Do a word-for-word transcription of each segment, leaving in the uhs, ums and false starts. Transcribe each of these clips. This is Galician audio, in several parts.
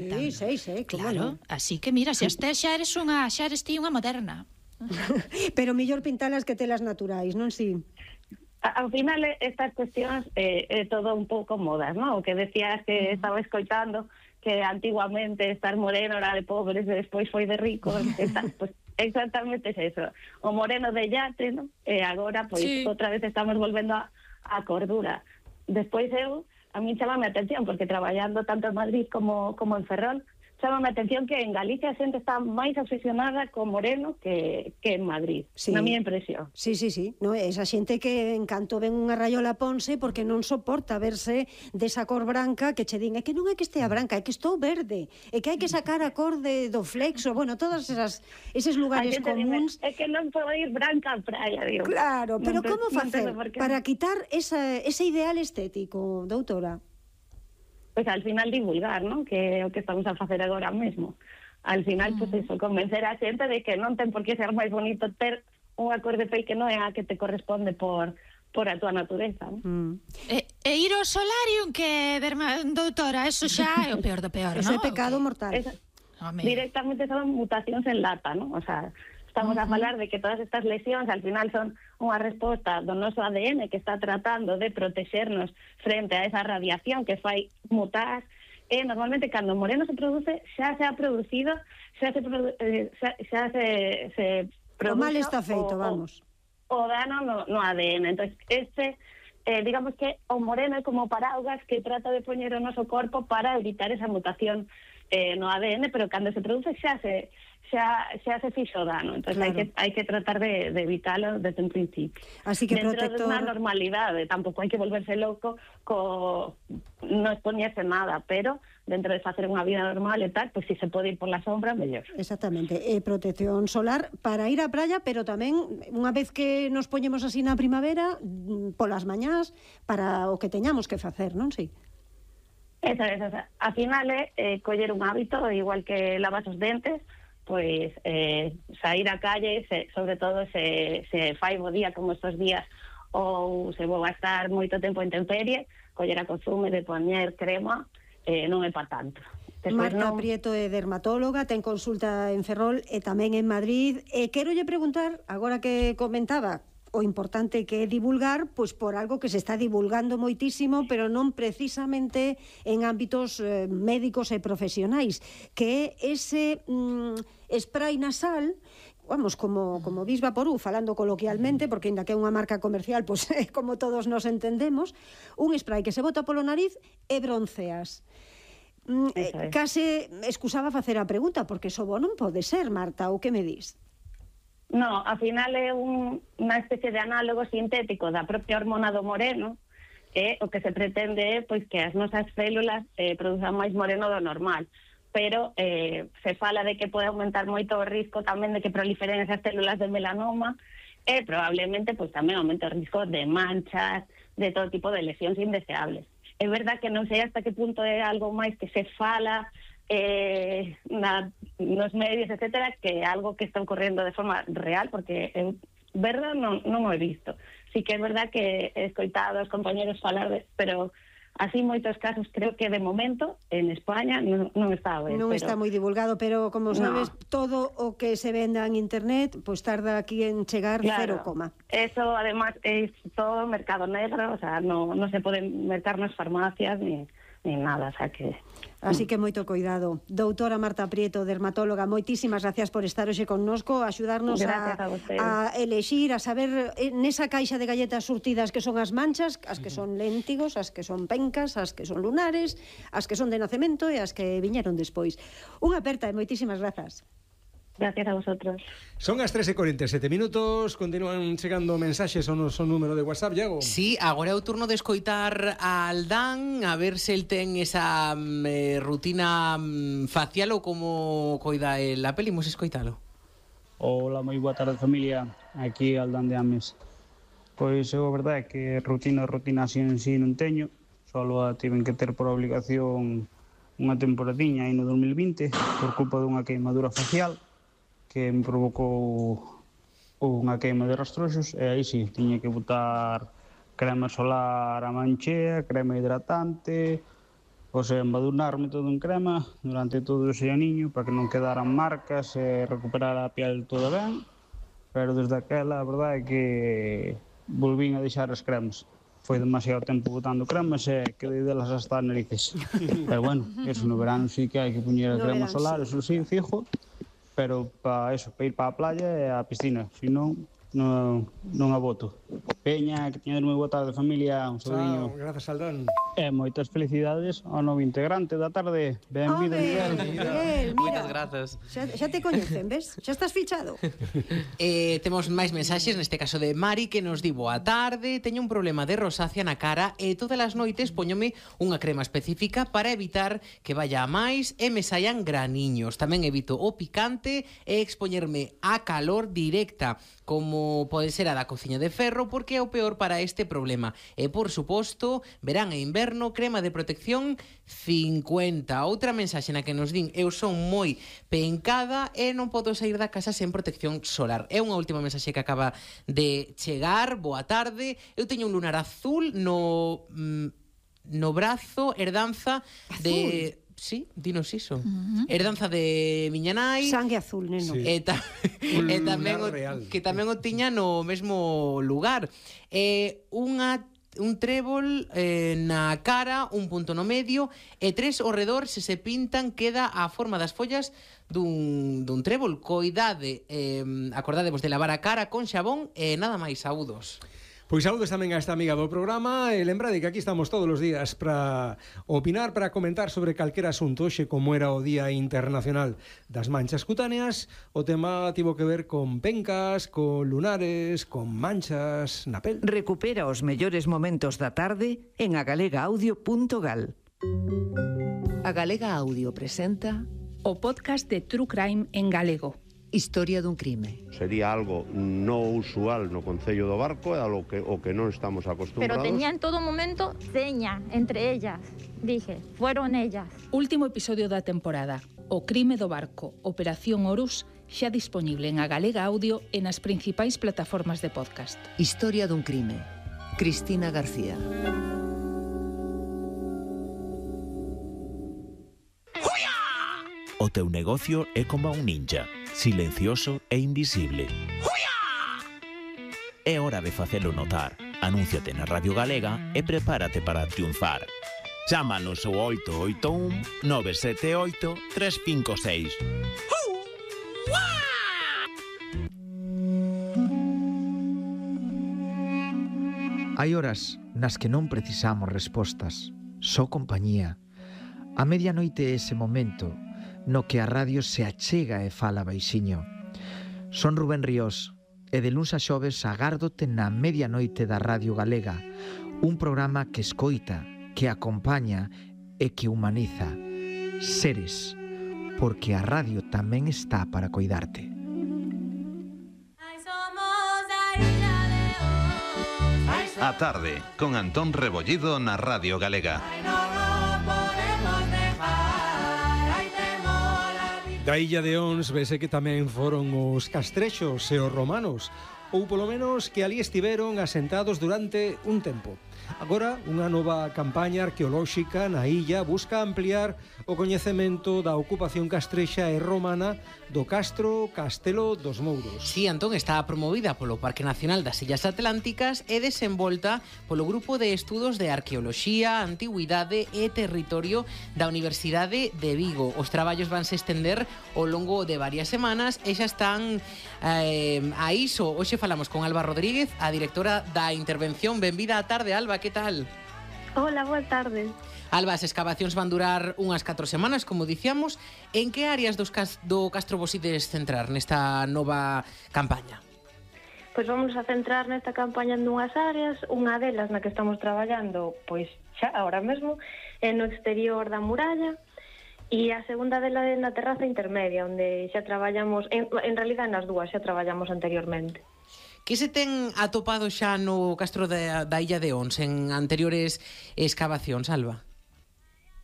faltan. Sí, sei, sei, claro, así que mira, se as tes xa eres unha, xa eres ti unha moderna. Pero mellor pintalas que telas naturais, non si? Ao final, estas cuestións é eh, todo un pouco modas, non? O que decías que estaba escoitando que antiguamente estar moreno era de pobres e despois foi de ricos, está, pues, exactamente es eso. O moreno de yate, non? E agora, pois, sí. outra vez estamos volvendo a, a cordura. Despois eu, a mí chamame a atención, porque traballando tanto en Madrid como, como en Ferrol, chamame a atención que en Galicia a xente está máis obsesionada co moreno que, que en Madrid, sí. Na miña impresión. Sí, sí, sí, no, esa xente que en canto ven unha raiola ponse porque non soporta verse desa cor branca que che din, é que non é que estea branca, é que estou verde, é que hai que sacar a cor de, do flexo, bueno, todas esas eses lugares comuns. É que non podo ir branca á praia, digo. Claro, pero non como facer para quitar esa, ese ideal estético, doutora? Pois al final divulgar, non? Que é o que estamos a facer agora mesmo. Al final, mm. pois eso, convencer a xente de que non ten por que ser máis bonito ter unha cor de pel que non é a que te corresponde por por a túa natureza. Mm. E, e ir ao solarium que, derma, doutora, eso xa é o peor do peor, non? Ese é pecado mortal. Esa, directamente son mutacións en lata, non? O sea, estamos uh-huh. a falar de que todas estas lesións al final son unha resposta do noso A D N que está tratando de protexernos frente a esa radiación que fai mutar, e normalmente cando o moreno se produce xa se ha producido xa se produ eh, xa, xa se, se produce o mal está feito, o, vamos o, o dano no, no A D N. Entonces este eh, digamos que o moreno é como paraugas que trata de poñer o noso corpo para evitar esa mutación eh, no A D N, pero cando se produce xa se xa, xa se fixo dano, entón claro. hai, que, hai que tratar de, de evitalo desde un principio. Así que dentro protector... de unha normalidade, tampouco hai que volverse loco co non expoñerse nada, pero dentro de facer unha vida normal e tal, pois pues, si se pode ir por la sombra, mellor. Exactamente, eh, protección solar para ir á praia, pero tamén unha vez que nos poñemos así na primavera, polas mañás, para o que teñamos que facer, non? Si. Eso, eso, eso. A final é eh, coller un hábito, igual que lavas os dentes, pois eh, sair á calle, se, sobre todo se, se fai bo día como estos días, ou se vou a estar moito tempo en temperie, coller a costume de poñer crema, eh, non é para tanto. Despois Marta non... Prieto é dermatóloga, ten consulta en Ferrol e tamén en Madrid. E quero lle preguntar, agora que comentaba o importante que é divulgar, pois por algo que se está divulgando moitísimo, pero non precisamente en ámbitos eh, médicos e profesionais, que é ese mm, spray nasal, vamos, como, como Vis Vaporú, falando coloquialmente, porque ainda que é unha marca comercial, pois é como todos nos entendemos, un spray que se bota polo nariz e bronceas. Mm, eh, case excusaba facer a pregunta, porque eso bo non pode ser, Marta, ou que me dis? No, ao final é un, unha especie de análogo sintético da propia hormona do moreno, e o que se pretende é pois, que as nosas células eh, produzan máis moreno do normal, pero eh, se fala de que pode aumentar moito o risco tamén de que proliferen esas células de melanoma, e probablemente pois, tamén aumente o risco de manchas, de todo tipo de lesións indeseables. É verdad que non sei hasta que punto é algo máis que se fala eh, na, nos medios, etcétera, que é algo que está ocorrendo de forma real, porque eu, verdad, non, non o he visto. Sí que é verdad que he escoitado aos compañeros falar de, pero así moitos casos creo que de momento en España non, non está a ver. Non pero... está moi divulgado, pero como sabes, no. todo o que se venda en internet, pois pues tarda aquí en chegar claro. cero coma. Eso, además, é todo mercado negro, o sea, non no se poden mercar nas farmacias ni, ni nada, o sea que... Así que moito cuidado. Doutora Marta Prieto, dermatóloga, moitísimas gracias por estar hoxe connosco, axudarnos a, a, a elexir, a saber nesa caixa de galletas surtidas que son as manchas, as que son léntigos, as que son pencas, as que son lunares, as que son de nacemento e as que viñeron despois. Unha aperta e moitísimas grazas. Gracias a vosotros. Son as tres e cuarenta e sete minutos, continúan chegando mensaxes ao noso número de WhatsApp, Iago. Sí, agora é o turno de escoitar a Aldán, a ver se el ten esa eh, rutina facial ou como coida el a peli, imos escoitalo. Hola, moi boa tarde familia, aquí Aldán de Ames. Pois eu a verdade é que rutina, rutina así en sí non teño, solo a tiven que ter por obligación unha temporadiña aí no dos mil vinte por culpa dunha queimadura facial que me provocou unha queima de rastroxos, e aí sí, tiña que botar crema solar a manchea, crema hidratante, Pois embadurnarme todo en crema durante todo ese aniño para que non quedaran marcas e recuperar a piel toda ben, pero desde aquela a verdade é que volvín a deixar as cremas. Foi demasiado tempo botando cremas e quedei delas hasta as narices. Pero bueno, eso no verano sí que hai que poñer a crema solar, eso sí, fijo, pero para eso, para ir para a playa e a piscina, se non, non, non a boto. Peña, que teñades moi boa tarde, familia, un saludiño. Chao, grazas, Aldán. E moitas felicidades ao novo integrante da tarde. Benvido, Miguel. Miguel, Moitas mira, grazas. xa, xa te coñecen, ves? Xa estás fichado. Eh, temos máis mensaxes, neste caso de Mari, que nos di boa tarde, teño un problema de rosácea na cara e todas as noites poñome unha crema específica para evitar que vaya a máis e me saian graniños. Tamén evito o picante e expoñerme a calor directa, como pode ser a da cociña de ferro, porque é o peor para este problema. E, por suposto, verán e inverno, crema de protección cincuenta. Outra mensaxe na que nos din, eu son moi pencada e non podo sair da casa sen protección solar. É unha última mensaxe que acaba de chegar. Boa tarde. Eu teño un lunar azul no no brazo, herdanza de... Sí, dinos iso. Uh -huh. Herdanza de miña nai. Sangue azul, neno. Sí. E, ta, e tamén o, que tamén o tiña no mesmo lugar. E unha un trébol eh, na cara, un punto no medio e tres ao redor, se se pintan queda a forma das follas dun, dun trébol. Coidade, eh, acordadevos de lavar a cara con xabón e nada máis, saúdos. Pois saúdos tamén a esta amiga do programa e lembrade que aquí estamos todos os días para opinar, para comentar sobre calquera asunto. Hoxe, como era o Día Internacional das Manchas Cutáneas, o tema tivo que ver con pencas, con lunares, con manchas na pel. Recupera os mellores momentos da tarde en agalegaaudio punto gal. A Galega Audio presenta o podcast de True Crime en galego. Historia dun crime. Sería algo no usual no Concello do Barco, é algo que, o que non estamos acostumbrados. Pero tenía en todo momento seña entre ellas. Dije, fueron ellas. Último episodio da temporada. O crime do barco, Operación Horus, xa disponible en A Galega Audio e nas principais plataformas de podcast. Historia dun crime. Cristina García. O teu negocio é como un ninja, silencioso e invisible. É hora de facelo notar. Anúnciate na Radio Galega e prepárate para triunfar. Chámanos ao oito oito un nove sete oito tres cinco seis. Hai horas nas que non precisamos respostas, só compañía. A medianoite é ese momento no que a radio se achega e fala baixiño. Son Rubén Ríos e de luns a xoves agárdote na medianoite da Radio Galega, un programa que escoita, que acompaña e que humaniza. Seres, porque a radio tamén está para coidarte. A tarde, con Antón Rebollido na Radio Galega. Da illa de Ons vese que tamén foron os castrexos e os romanos, ou polo menos que ali estiveron asentados durante un tempo. Agora, unha nova campaña arqueolóxica na illa busca ampliar o coñecemento da ocupación castrexa e romana do Castro Castelo dos Mouros. Si, Antón, está promovida polo Parque Nacional das Illas Atlánticas e desenvolta polo Grupo de Estudos de Arqueoloxía, Antigüidade e Territorio da Universidade de Vigo. Os traballos vanse estender ao longo de varias semanas e xa están eh, a iso. Hoxe falamos con Alba Rodríguez, a directora da intervención. Benvida á tarde, Alba, que tal? Hola, boa tarde. Alba, as excavacións van durar unhas catro semanas, como dicíamos. En que áreas dos cas do Castro vos ides centrar nesta nova campaña? Pois vamos a centrar nesta campaña en dúas áreas. Unha delas na que estamos traballando, pois xa agora mesmo, é no exterior da muralla, e a segunda dela é na terraza intermedia, onde xa traballamos, en, en realidad nas dúas xa traballamos anteriormente. Que se ten atopado xa no Castro da, da Illa de Ons en anteriores excavacións, Alba?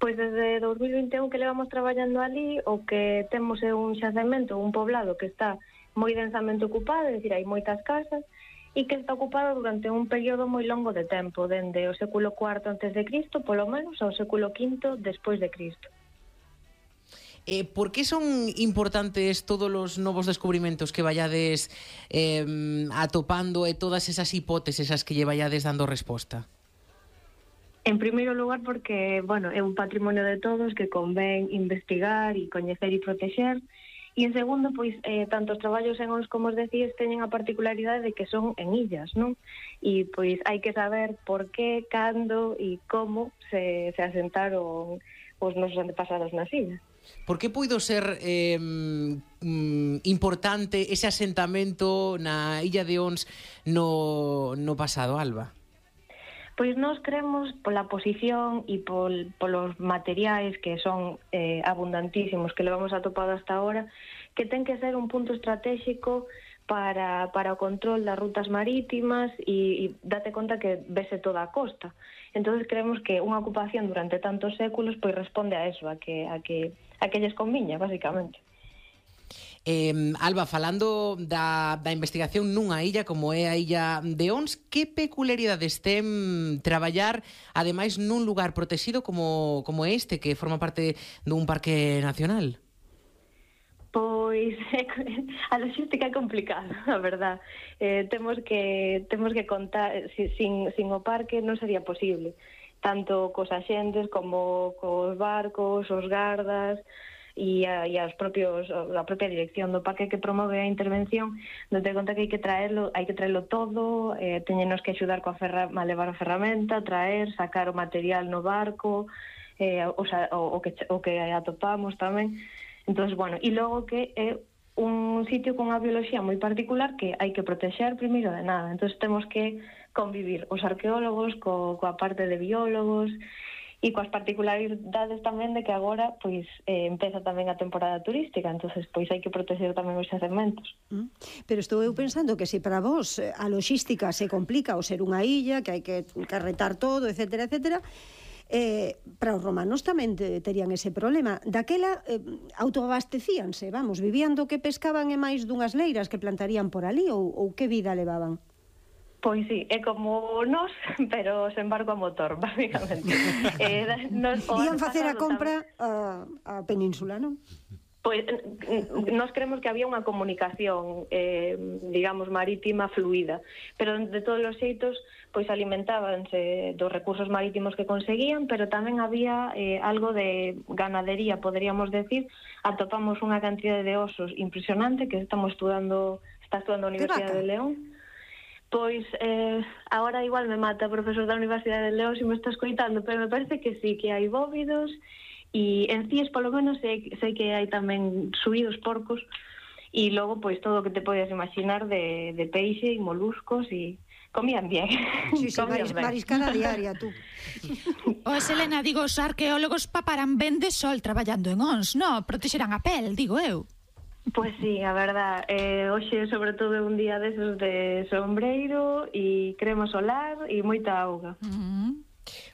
Pois desde dos mil vinte e un que levamos traballando ali, o que temos é un xacemento, un poblado que está moi densamente ocupado, é dicir, hai moitas casas, e que está ocupada durante un período moi longo de tempo, dende o século cuarto antes de Cristo, polo menos, ao século quinto despois de Cristo. Eh, por que son importantes todos os novos descubrimentos que vayades eh, atopando e todas esas hipóteses as que lle vayades dando resposta? En primeiro lugar porque, bueno, é un patrimonio de todos que convén investigar e coñecer e protexer. E en segundo, pois, eh, tanto os traballos en Ons como os decíes teñen a particularidade de que son en illas, non? E, pois, hai que saber por qué, cando e como se, se asentaron os nosos antepasados nas illas. Por que puido ser eh, mm, importante ese asentamento na illa de Ons no, no pasado, Alba? Pois nós creemos pola posición e pol, polos materiais que son eh, abundantísimos que levamos atopado hasta ahora, que ten que ser un punto estratégico para, para o control das rutas marítimas e, e date conta que vese toda a costa. Entón creemos que unha ocupación durante tantos séculos pois responde a eso, a que, a que, a que lles conviña, basicamente. Eh, Alba, falando da, da investigación nunha illa como é a illa de Ons, que peculiaridades ten traballar ademais nun lugar protegido como, como este, que forma parte dun parque nacional? Pois a logística é complicada, a verdad. Eh, temos que temos que contar, sin, sin o parque non sería posible, tanto cos axentes como cos barcos, os gardas e a, e as propios, a propia dirección do parque que promove a intervención, date conta que hai que traerlo, hai que traerlo todo, eh, teñenos que axudar coa ferra, a levar a ferramenta, traer, sacar o material no barco, eh, o, o, o, que, o que atopamos tamén. Entón, bueno, e logo que é un sitio con unha biología moi particular que hai que protexer primeiro de nada. Entón, temos que convivir os arqueólogos co, coa parte de biólogos e coas particularidades tamén de que agora pois eh, empeza tamén a temporada turística, entonces pois hai que proteger tamén os xacementos. Mm. Pero estou eu pensando que se para vos a logística se complica ao ser unha illa, que hai que carretar todo, etcétera, etcétera, eh, para os romanos tamén te, terían ese problema. Daquela eh, autoabastecíanse, vamos, vivían do que pescaban e máis dunhas leiras que plantarían por ali, ou, ou que vida levaban? Pois sí, é como nós, pero sen barco a motor, basicamente. eh, nos, Ian facer a compra a, a península, non? Pois nós creemos que había unha comunicación, eh, digamos, marítima fluida, pero de todos os xeitos, pois alimentábanse dos recursos marítimos que conseguían, pero tamén había eh, algo de ganadería, poderíamos decir. Atopamos unha cantidade de osos impresionante que estamos estudando, está estudando a Universidade de León. Pois, eh, agora igual me mata o profesor da Universidade de León se me está escoitando, pero me parece que sí, que hai bóvidos, e en Cíes, polo menos, sei, sei que hai tamén suídos porcos, e logo, pois, todo o que te podes imaginar de, de peixe e moluscos, e comían bien. Sí, sí, maris, mariscada diaria, tú. O Selena, digo, os arqueólogos paparán ben de sol traballando en Ons, no? Protexerán a pel, digo eu. Pois sí, a verdad, eh, hoxe sobre todo é un día desos de sombreiro e crema solar e moita auga. Uh-huh.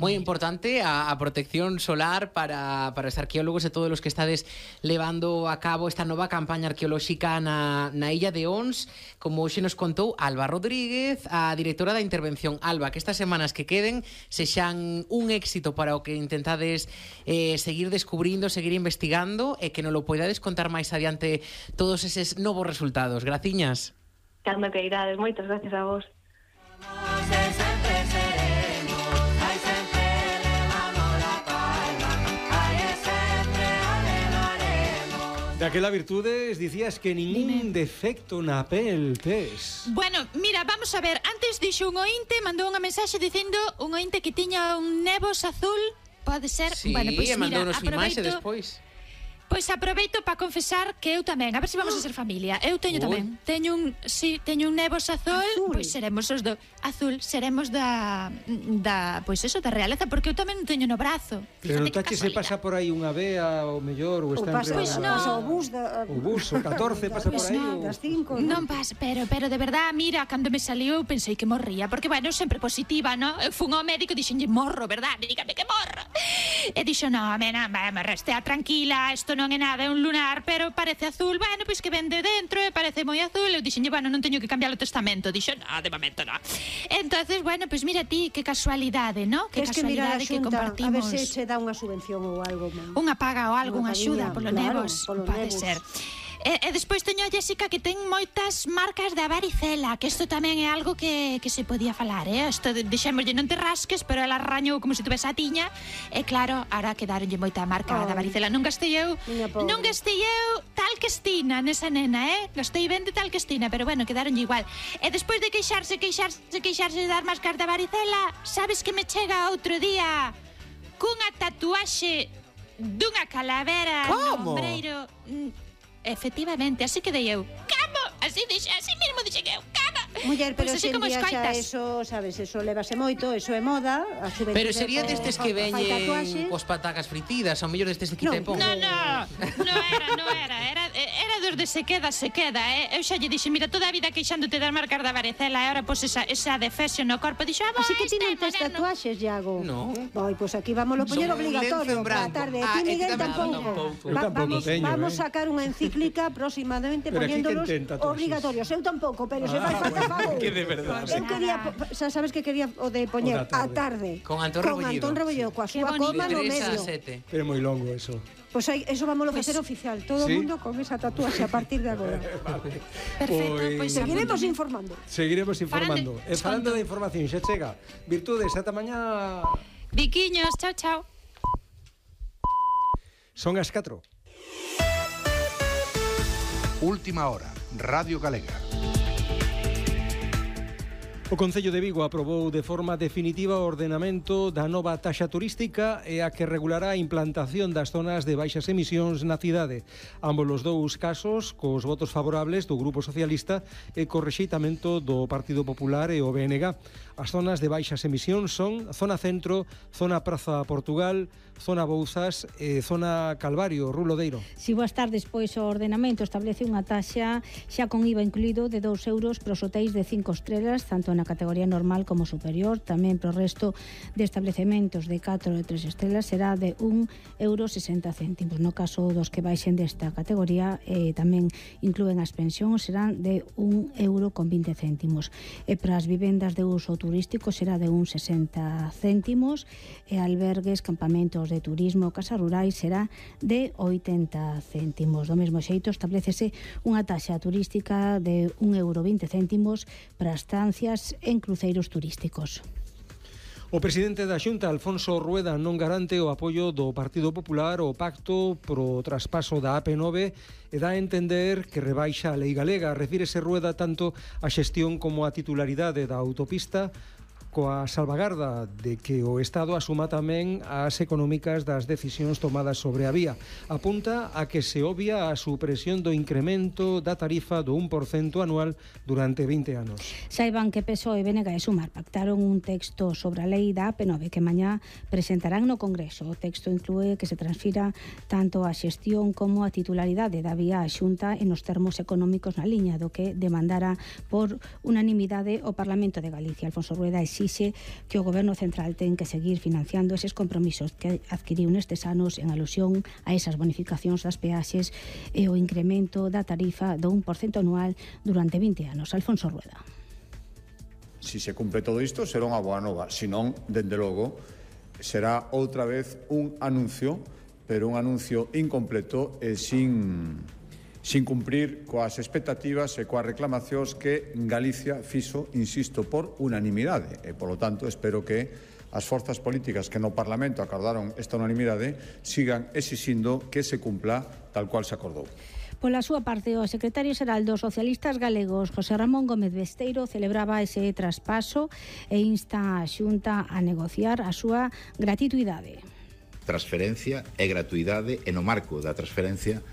Moi importante a, a protección solar para, para os arqueólogos e todos os que estades levando a cabo esta nova campaña arqueolóxica na, na illa de Ons, como hoxe nos contou Alba Rodríguez, a directora da intervención. Alba, que estas semanas que queden sexan un éxito para o que intentades eh, seguir descubrindo, seguir investigando, e que nos lo poidades contar máis adiante todos eses novos resultados. Graciñas. Cando que irades, moitas gracias a vos. Daquela virtudes dicías que ningún defecto na pel tes. Bueno, mira, vamos a ver. Antes dixo un ointe, mandou unha mensaxe dicindo un ointe que tiña un nebos azul. Pode ser? Sí, bueno, pois, e mandou mira, nos imaxe aproveito... despois. Pois aproveito para confesar que eu tamén, a ver se vamos a ser familia. Eu teño Uy. tamén. Teño un, si, teño un nebos azul, azul. Pois seremos os do azul, seremos da da, pois eso, da realeza, porque eu tamén non teño no brazo. Pero tache se pasa por aí unha vea o mellor ou está pasa, entre pois no. pasa o bus da, o bus o catorce pasa Pois por aí. no, o... das cinco. Non pasa, pero pero de verdad, mira, cando me saliu eu pensei que morría, porque bueno, sempre positiva, ¿no? Eu fun ao médico e dixenlle morro, verdad? Dígame que morro. E dixo, no, mena, me restea tranquila, isto non é nada, é un lunar, pero parece azul. Bueno, pois que ven de dentro e parece moi azul. Eu dixenlle, bueno, non teño que cambiar o testamento. Dixo, no, de momento no. Entonces, bueno, pois mira ti, que casualidade, ¿no? Que casualidade que, que compartimos. A ver se che dá unha subvención ou algo. Unha paga ou algo, unha axuda polo claro, nevos. polo Pode nevos. ser. E, e despois teño a Jessica que ten moitas marcas de varicela, que isto tamén é algo que, que se podía falar, eh? Isto de, dixémoslle non te rasques, pero ela rañou como se tuvese a tiña, e claro, ahora quedaronlle moita marca oh. da varicela. Non gastei eu, non gastei eu tal que estina nesa nena, eh? Gastei ben de tal que estina, pero bueno, quedaronlle igual. E despois de queixarse, queixarse, queixarse de dar máscaras da varicela, sabes que me chega outro día cunha tatuaxe dunha calavera no Como? ombreiro. Efectivamente, así que dei eu. Camo, así dixe, así mesmo dixe que eu. Camo. Muller, pero Pois así pues como día xa escoitas. eso, sabes, eso levase moito, eso é moda, a xuventude. Pero sería destes que fai veñen tatuaxe. cos patacas fritidas, ao mellor destes de quita e pon. No, no, no era, no era, era, era dos de se queda, se queda, eh? Eu xa lle dixe, mira, toda a vida queixándote das marcas da varicela, e ahora pois esa, esa defesio no corpo, dixo, ah, Así que ti non tes tatuaxes, Iago. No. Vai, pois aquí vamos a poñer Son un obligatorio lenzo en para a branco. tarde. Ah, Ti, e ti Miguel, tamén tampouco. tampouco. Eu tampouco vamos, teño, vamos eh. sacar unha encíclica aproximadamente Pero aquí poñéndolos quen ten tatuaxes? obligatorios. Eu tampouco, pero se Ah, fai falta bueno, fago. que de verdade. Eu quería, xa sabes que quería o de poñer O da a tarde. Con Antón Con Rebollido. Antón Rebollido, coa súa bonito. coma no De tres a medio. sete. Pero é moi longo eso. Pois aí, eso vamos a facer oficial. Todo o ¿Sí? mundo con esa tatuaxe a partir de agora. Perfecto, Pois- pois Seguiremos informando. Seguiremos informando. Farande- E falando da información, xa chega. Virtudes, ata mañá. Viquiños, chao, chao. Son as catro. Última hora, Radio Galega. O Concello de Vigo aprobou de forma definitiva o ordenamento da nova taxa turística e a que regulará a implantación das zonas de baixas emisións na cidade. Ambos os dous casos cos votos favorables do Grupo Socialista e co rexeitamento do Partido Popular e o B N G. As zonas de baixas emisións son Zona Centro, Zona Praza Portugal, Zona Bouzas e Zona Calvario, Rulodeiro. Si boas tardes, pois o ordenamento establece unha taxa xa con I V A incluído de dous euros para os hotéis de cinco estrelas, tanto na categoría normal como superior. Tamén para o resto de establecementos de catro e tres estrelas será de un euro sesenta céntimos. No caso dos que baixen desta categoría, eh, tamén inclúen as pensións, serán de un euro con vinte céntimos. E para as vivendas de uso turístico será de un sesenta céntimos e albergues, campamentos de turismo, casas rurais será de oitenta céntimos. Do mesmo xeito establecese unha taxa turística de un euro vinte céntimos para estancias en cruceiros turísticos. O presidente da Xunta, Alfonso Rueda, non garante o apoio do Partido Popular ao pacto pro traspaso da A P nove e dá a entender que rebaixa a lei galega. Refírese Rueda tanto a xestión como a titularidade da autopista, coa salvagarda de que o Estado asuma tamén as económicas das decisións tomadas sobre a vía. Apunta a que se obvia a supresión do incremento da tarifa do un por cento anual durante vinte anos. Saiban que P S O E, B N G e Sumar pactaron un texto sobre a lei da A P nove que mañá presentarán no Congreso. O texto inclúe que se transfira tanto a xestión como a titularidade da vía á Xunta en os termos económicos na liña do que demandara por unanimidade o Parlamento de Galicia. Alfonso Rueda exixe que o Goberno Central ten que seguir financiando eses compromisos que adquiriu nestes anos en alusión a esas bonificacións das peaxes e o incremento da tarifa do un por cento anual durante vinte anos. Alfonso Rueda. Si se cumpre todo isto, será unha boa nova. Si non, dende logo, será outra vez un anuncio, pero un anuncio incompleto e sin... sin cumprir coas expectativas e coas reclamacións que Galicia fixo, insisto, por unanimidade. E, polo tanto, espero que as forzas políticas que no Parlamento acordaron esta unanimidade sigan exixindo que se cumpla tal cual se acordou. Pola súa parte, o secretario xeral dos socialistas galegos, José Ramón Gómez Besteiro, celebraba ese traspaso e insta a Xunta a negociar a súa gratuidade. Transferencia e gratuidade, e no marco da transferencia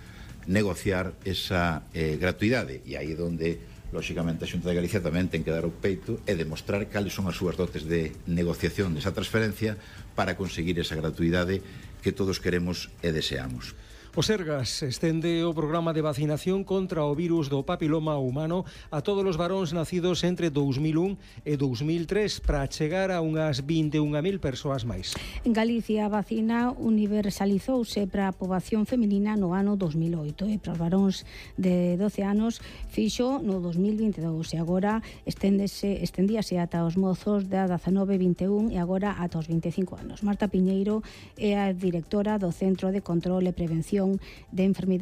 negociar esa eh, gratuidade, e aí é onde lóxicamente a Xunta de Galicia tamén ten que dar o peito e demostrar cales son as súas dotes de negociación desa transferencia para conseguir esa gratuidade que todos queremos e deseamos. O Sergas estende o programa de vacinación contra o virus do papiloma humano a todos os varóns nacidos entre dous mil un e dous mil tres para chegar a unhas vinte e unha mil persoas máis. En Galicia a vacina universalizouse para a poboación feminina no ano dos mil oito e para os varóns de doce anos fixo no dos mil vinte e dous e agora esténdese, estendíase ata os mozos de dezanove vinte e un e agora ata os vinte e cinco anos. Marta Piñeiro é a directora do Centro de Control e Prevención de Enfermidades